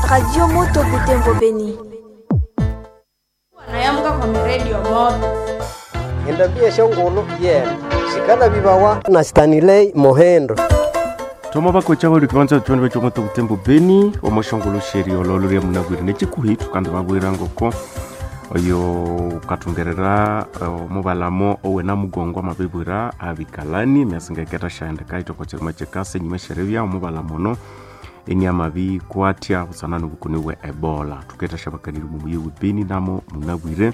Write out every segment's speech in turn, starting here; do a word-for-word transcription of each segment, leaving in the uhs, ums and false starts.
Radio Moto Butembo Beni. Nayamuka kwa redio moto. Endambi eshongolo yena sikala bibawa na Stanley Mohendo. Toma bakocha bali kibanza twende becho moto Butembo Beni omoshongolo sheri ololo lya munagwire nechikuhi tukandi babwira ngoko oyo katungerera omubalamo owena mugongo amabibwira abikalani myasingeketa shaendeka itoko chirima chekase nyuma sherebya omubalamono eni kwatya busana nobukoni bwe ebola tuketa shabakaniri mumuyi Beni namo munagwire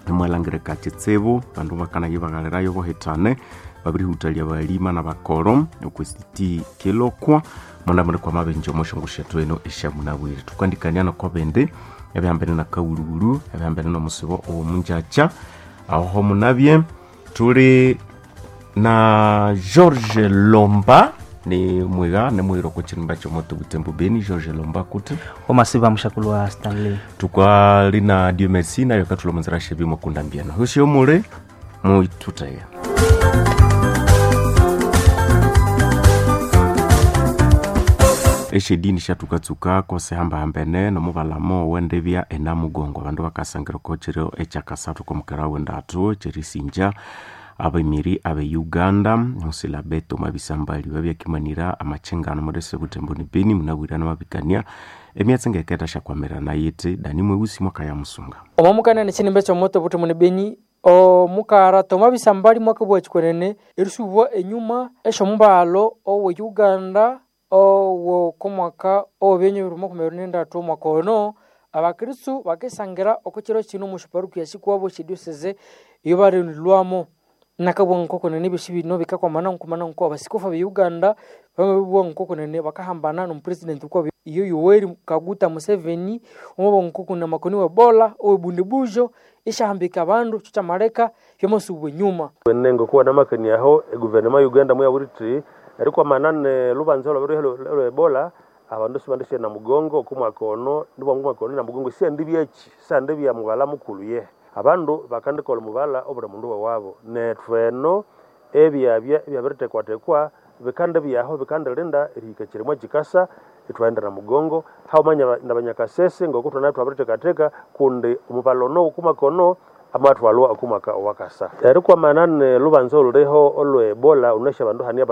emwalangirika chitsibu bandu bakanaye baghalirayo bohetane babirihutalia balima na bakoro okwesiti kilokwa muna kwa mabenje omoshongo shetu eno eshamunabwire tukandikania nokobende ebihambene na kaululu ebihambene nomusibo owomunjacha aho munabye tuli na George Lomba ni mwiga ni mwiro kuchirimba chomoto Butembo Beni. George Lomba kuti omasiba mushakulu wa Stanley tukwali na Dieu merci nayo katulomozera shebi mukunda mbiano hosio mule muitutaya eshedini shatukatsuka kose hambahambene nomubalamo wendebya enamugongo abandu bakasangira kochiro echakasathu komukera wendatu cherisinja abemiri abe Uganda hosila beto mabisambali babyakimanira amachengano modese Butembo ni Beni munabwirana mabikania emyatsi ngeketa shakwamirana yiti dani mweusi mwaka ya musunga omamukana nechinimbe chomoto Butembo ni Beni omukara toma bisambali mwaka bwachikwenene erisubwa enyuma eshomubalo owe Uganda owo komwaka owenye bibiri makumi abiri nendatu omwaka ono abakristu bakesangira okukiro kino omushuparuku yasikwabo shedioseze iyo barinilwamo nakabwa nkokonene byosi bino bikakwamana nkumana nko abasikofu be Uganda bamabibwa nkokonene bakahambana nomupresident kwabo iyo Yoweri Kaguta Museveni omo nkokuna makoni wa Ebola owe ishahambika abandu kyamaleka byomasubwa enyuma nengo kuwa namakani aho eguverinoma ya Uganda muyawiriti erikwamana ne lubanza lwa Ebola abandu sibandishe na mugongo okumwaka ono nibwangu mwaka ono na mugongo siendi byeki sandi bya mubala mukulu ye abandu bakandikola mubala obuli mundu wewabo nethu eno ebyabya ebyabiritekwatekwa bikandi byaho bikandilinda erihika kirimwa kikasa ithwaghenda na mugongo haumanya nabanyakasese ngoku thwana thwabiritekateka kundi omubala ono okumwaka ono amathwalwa okumwaka owakasa erikwamana ne lubanza oluliho olwe Ebola unesha abandu hania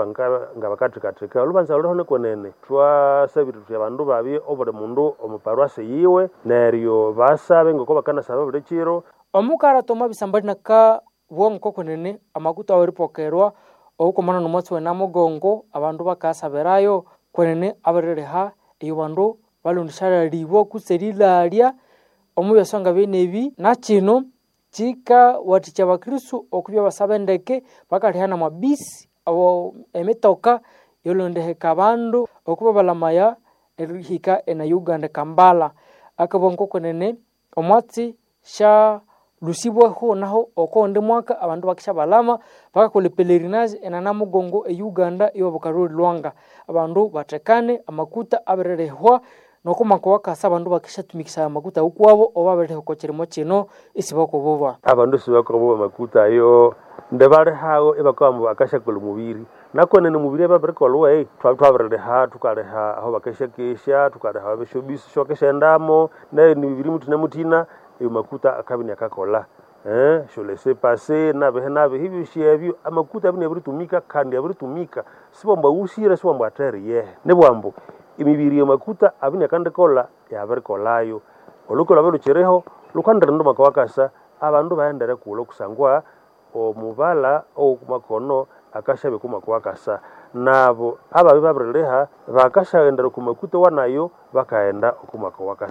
nga bakathikathika olubanza luliho nikwenene twasabire thuthi abandu babye obuli mundu omuparwasi yiwe neryo basabe ngoko bakanasaba buli kiro omukara toma bisambali naka bwongo kwenene amakuta aweripokerwa oukomana nomwatsi wenamugongo abandu bakasabirayo kwenene abirireha eyo bandu balondishalalibwa kutse erilalya omu byasonga byenebi nakino kikawathikya abakristu okubya basaba endeke bakaliha namabisi abo emitoka yolondeheka abandu okuba balamaya erihika ena Uganda Kampala akabwa nkokonene omwatsi sha lusibwaho naho okondi mwaka abandu bakisha balama bakakola pelerinage ena namugongo e Uganda iwo bukaruri lwanga abandu batekane amakuta abirerehwa nokumaka wakasa abandu bakishatumikisa amakuta ukwabo oba abiriho kirimo kino isibakoboba abandu sibakoboba makuta ayo ndebalihawo ibakawamba bakashakola omubiri nakonene omubiri ebabirikolwa ei twabirileha tukaleha aho bakeshakesha tukaleha abeshobisi shokeshendamo nayo nimibiri mutina mutina eyo makuta akabini akakola eh sholese pase nabehe nabehe ibyosi ebyo amakuta abini abiritumika kandi abiritumika sibwambu awusire sibwambu ateri yehe nibwambu emibiri yamakuta abini akandikola yabirikolayo olukola lukiriho lukandira maka wakasa abandu bahendere kula kusangwa omubala owokumakono akashabe kumaka wakasa nabo ababi babirileha bakashagendera kumakuta wanayo bakaghenda okumaka wakasa.